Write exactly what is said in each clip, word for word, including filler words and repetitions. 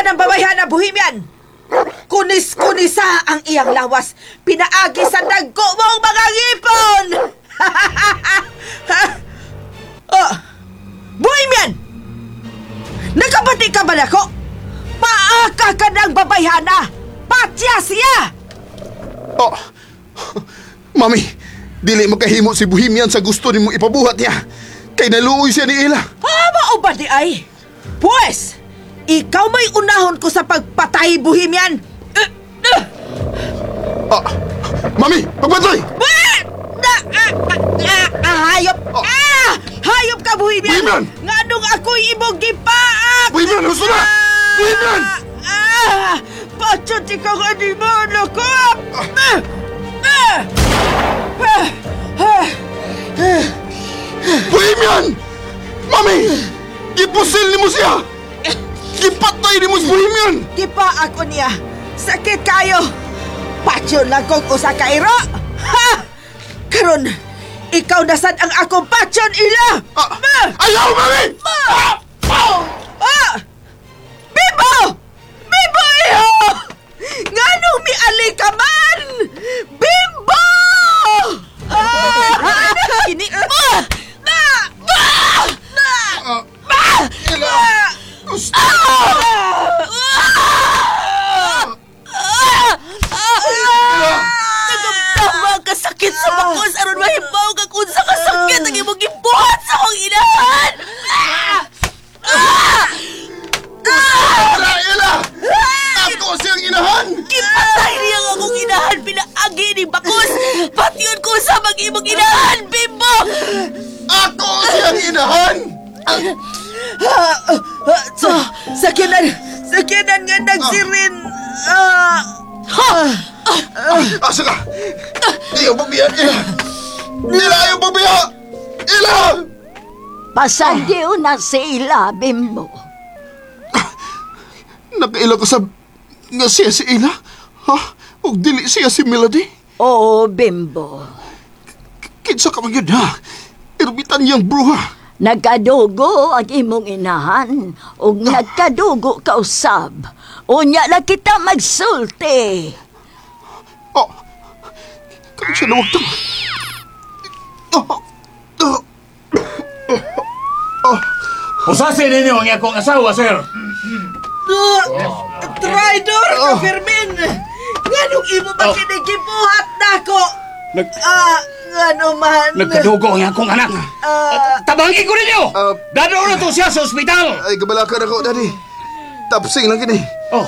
ka ng babayhana, Bohemian! Kunis-kunisa ang iyang lawas. Pinaagi sa dagko mong mga ngipon! Oh, Bohemian! Nakabati ka ba nako? Paaka ka ng babayhana! Patya siya! Oh, Mami, dili makahimo si Bohemian sa gusto nimo ipabuhat niya. Kay naluoy siya ni Ila. Ah, mao ba diay? Pues, ikaw may unahon ko sa pagpatay, Bohemian! Uh, uh, Ah, Mami, pagpatay! Ah! Na, ah, ah, ah, ah, hayop! Oh. Ah! Hayop ka, Bohemian! Bohemian! Nganong ako'y imong gipaak! Bohemian, husto na! Bohemian! Ah! Patyon ikaw animal ako! Ah! Ah! Ah! Ah! Bohemian! Mami! Gipusil nimo siya! Gipatay nimo si Bohemian! Gipaak ko niya. Sakit kayo. Patyon lang kong usa ka iro. Ha! Karon, ikaw na sad ang akong patyon, Ila! Ah, ayaw, Mami! Ah! Ah! Bimbo! Bimbo, iho! Nganong miali ka man? Bimbo! Ah! Kini... Ah! Ah! Ah! Ah, Ah! Ila! Ah! Gusto! Ah! Ila! Nagamtama ang kasakit sa bakos aron mahibaw ka kung sa kasakit ang imong gibuhat sa akong inahan. Ah! Ila! Ila! Ako siyang inahan! Gipatay niya ang akong inahan pinaagi ni bakos. Patyon ko sa mag imong inahan, Bimbo. Ako siyang inahan! Ah, ah, sa sakyanan, sakyanan nga nagsirin. Ah, ah, Asa ka? Ayaw pabiya! Ila! Ila, ayaw pabiya! Ila! Pasandiw na sila, Bimbo. Nakaila ka sa... nga siya si Ila? Ha? Ug dili siya si Melody? Oo, Bimbo. Kinsa ka man yun, ha? Ermitan niyang bruha. Nagkadugo ang imong inahan ug nagkadugo ka usab. Unya na kita magsulti. Oh, kaya siya nawagtang. Oh, oh, Usasi ninyo ang akong asawa, sir. ah, Traidor ka, Fermin! Nganong imo ba Oh. kinigibuhat nako? Nag Ah, ngano man? nagkadugo ang akong anak. Ah, Tabangi ko ninyo! Ah. Dadaan na to siya sa ospital! Ay, kabalakan ako, Daddy. Tapsing lang kini. Oh,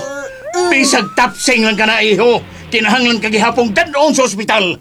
bisag tapsing lang ka na, iho. Kinahanglan kagihapong dadon sa ospital.